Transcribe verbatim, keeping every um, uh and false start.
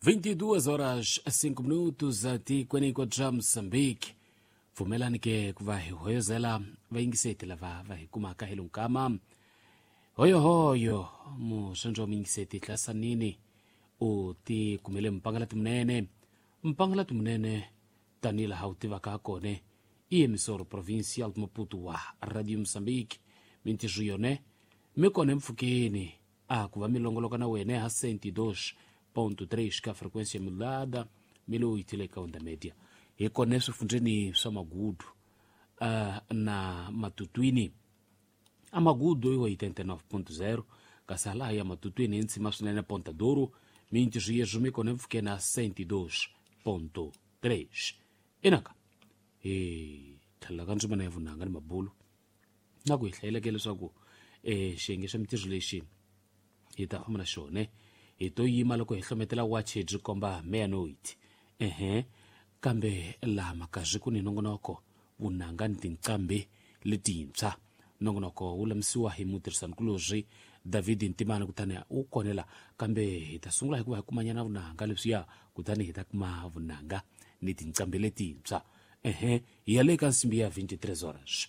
vinte e duas horas cinco minutos atikweni bya Mozambique. Pfumelani ke ku va hi hoyozela vayingiseti lava va hi kumaka hi lunkama. Hoyohoyo musondzo wa muyingiseti Tlasanini u ti kumele mpangalati munene. Mpangalati munene tanihi laha u tivaka kona i emissora provincial de Maputo wa Radio Mozambique. Mintirho yone mi kona empfhukeni a ku va mi longoloka na wena ha cento e dois ponto três ka frequência modulada mi lowu yitile ka onda media. Hi kona eswifundzeni swa Magudu uh, na Matutwini. A Magudu i oitenta e nove ponto zero, kasi halaha ya Matutwini hi ntshima swinene Ponta Douro, mintirho yeswo mi kona empfhukeni a cento e dois ponto três. Inaka hi tlhelela ka ndzimana ya vunanga ni mabulu na ku hi hlayeleke leswaku eh xiyenge xa mintirho lexi hi ta famba na xona hi to yima loko hi hlometela wachi byi komba meia-noite. Ehe, kambe laha makazwi ku ni nongonoko vunanga ni tinqambi letintshwa. Nongonoko wu lamisiwa hi mutirhisanikulorhi David Ntimana, kutani wu konela. Kambe hi ta sungula hikuva hi kumanyana vunanga leswiya, kutani hi ta kuma vunanga ni tinqambi letintshwa. Ehe, hi ya le ka nsimbi ya vinte e três horas.